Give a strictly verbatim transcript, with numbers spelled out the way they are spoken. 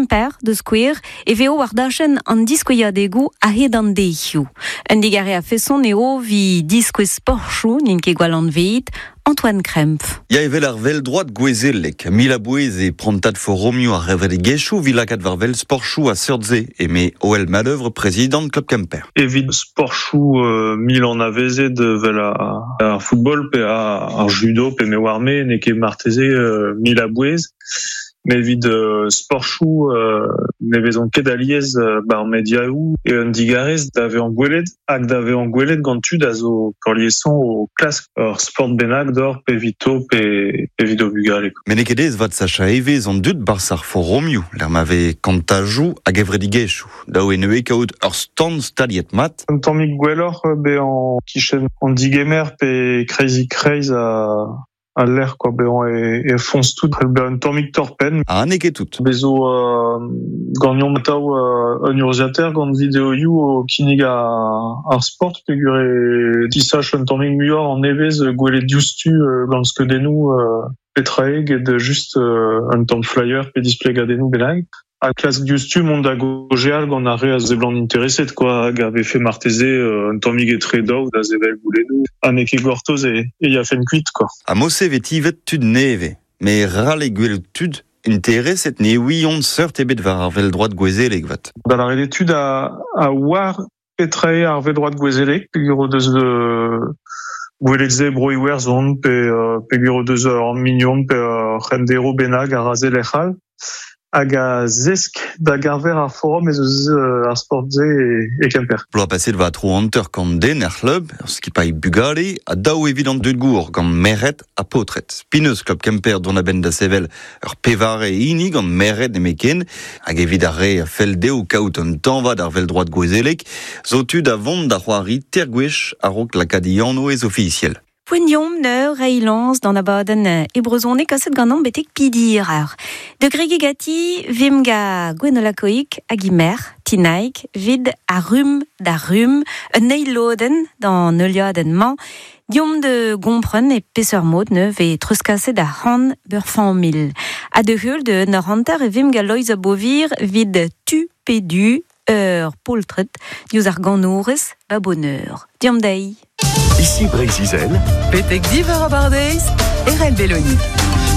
Kemper de skouer e veo war dachenn an diskouezadegou a-hed an deizioù. Un digare a feson eo vi diskouez sportchoù n'int ket gwall anveet, Antoine Krempf. Ya evel ar vel droit gwezelek, mil a bouez e prantad foromioù ar revredigezhioù vi lakaat war vel sportchoù a seurt-se, eme Oel Madeuvre, prezidant Club Kemper. Evit sportchoù euh, mil an avezet vel ar football pe ar judo pe me war me n'eo ket marteze euh, mil a bouez. Mais evit euh, sportchoù euh, ne vezont ket aliez euh, bar mediaoù e un digarez da vezañ gwelet hag da vezañ gwelet gant tud a zo peurliesañ o klask ur sport bennak d'or pe evito pe evit o bugale. Met n'eo ket aes vat sachañ evezh an dud barzh ar foromioù, lec'h ma vez kantajoù hag evredigezhioù. Dav eo neuze kaout ur stand staliet mat. Un tammig gwelloc'h bezañ kichen an digemer pe kreizik-kreiz a a l'air quoi bezañ e, e foñs tout bezañ un tammig torr-penn. Ha n'eo ket tout. Bezo euh, gagnon atav euh, un urzhiataer gant videoioù o kinnig ar sport peogwir e tisach un tammig muioc'h an evezh gwelet diouzhtu euh, gant skeudennoù euh, petra eo get just euh, un tamm flyer pe displegadennoù bennak. A klask diouzhtu mont da gaozeal gant ar re a seblant intereset quoi hag a vefe marteze euh, un tammig etre daou da sevel goulennoù ha n'eo ket gortoz e, e yafen kuit quoi. Ha mod-se vez tivet tud nevez, met ral eo gwelout tud intereset ne ouiont seurt ebet war ar vel droit gwezelek vat. Da lâret eo tud a, a oar petra eo ar vel droit gwezelek peogwir o deus euh, gwelet se bro Iwerzhon pe euh, peogwir o deus ur mignon pe ur c'henderv bennak a ra se lec'h all. Hag a zesk da garver ar forum ez eus euh, ar sport-se e, e Kemper. Bloaz paset va tro hanter kant den er c'hlub, ur skipailh bugale, ha daou evit an dud gour gant merc'hed ha paotred. Pineus Club Kemper dont a-benn da sevel ur pevare hini gant merc'hed nemetken, hag evit ar re a fell dezho kaout un tañva d'ar vel droit gwezelek, zo tud a vont da c'hoari teir gwech a-raok lakaat e anv ez ofisiel. Poent deomp neur reilañs d'an abadenn e brezhoneg kaset ganeomp betek pidir eur. De gregi gati vim ga Gwenola Koik hag imer, tinaik, vid a rum da rum, un eil lodenn d'an heuliadenn-mañ, diomp de gompren e peseurt mod ne vez treuzkaset ar c'han beur familh. Ha de heul de ur hanter e vim ga Loeiz Beauvir vid tu pe du ur poltred diouzh ar ganourez ba bonheur. Diomp dezhi. Ici Breizh-Izel. Betek div eur abardeiz, Erel Belloni.